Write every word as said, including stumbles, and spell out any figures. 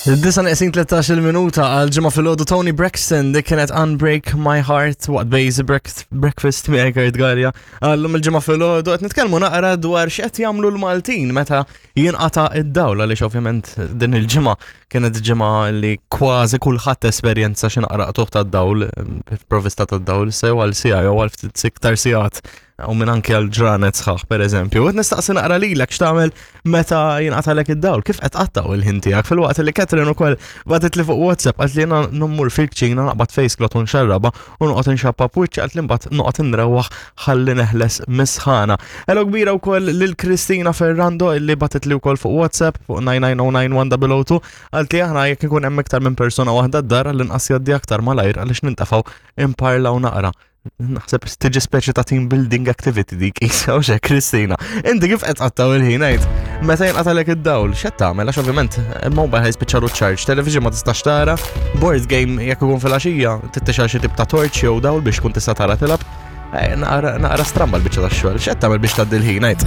Disa neqsin tlettax-il minuta għal Ġimgħa filgħodu. Toni Braxton, dik kienet Unbreak My Heart waqt Bejzi Breakfast miegħek Kurt Galea. Għallum il-Ġimgħa filgħodu qed nitkellmu naqra dwar x'qed jagħmlu l-Maltin meta jinqata' id-dawl, għaliex ovvjament din il-ġimgħa kienet ġimgħa li kważi kulħadd esperjenza xi naqra qtugħ tad-dawl, provista tad-dawl, sew għal siegħa jew għal ftit iktar sigħat u minn anke għal ġranet sħaħ, per eżempju. Qed nistaqsi naqra lilek x'tagħmel meta jinqatalek id-dawl, kif qed tqattgħu il-ħin tiegħek, filwaqt li Catherine ukoll bagħtet li fuq WhatsApp, qalt li jiena mmur fil-kċina, naqbad face cloth u nxarraba u noqgħod inxappa b'wiċċi, qalt li mbagħad noqgħod inrewwaħ ħalli neħles mis-sħana. Hello kbira wkoll lil Kristina Ferrando illi bagħtet li wkoll fuq WhatsApp fuq nine nine zero nine one zero zero two, qalt li aħna jekk ikun hemm iktar minn persuna waħda d-dar, l-inqas jgħaddi aktar malajr għaliex nintafgħu imparlaw naqra. Naħseb tiġi speċi ta' team building activity dik, isa u Kristina. Inti kif qed tqattgħu il-ħin, għid? Meta jinqatalek id-dawl, x'qed tagħmel? Għax ovvjament il-mobile ħa jispiċċalu charge, television ma tistax tara, board game jekk ikun fil-għaxija, tittixgħel xi tip ta' torch jew dawl biex kun tista' tara tilgħab. Eh, Naqra naqra stramba l-biċċa tax-xogħol. X'qed tagħmel biex tgħaddi l-ħin, għid?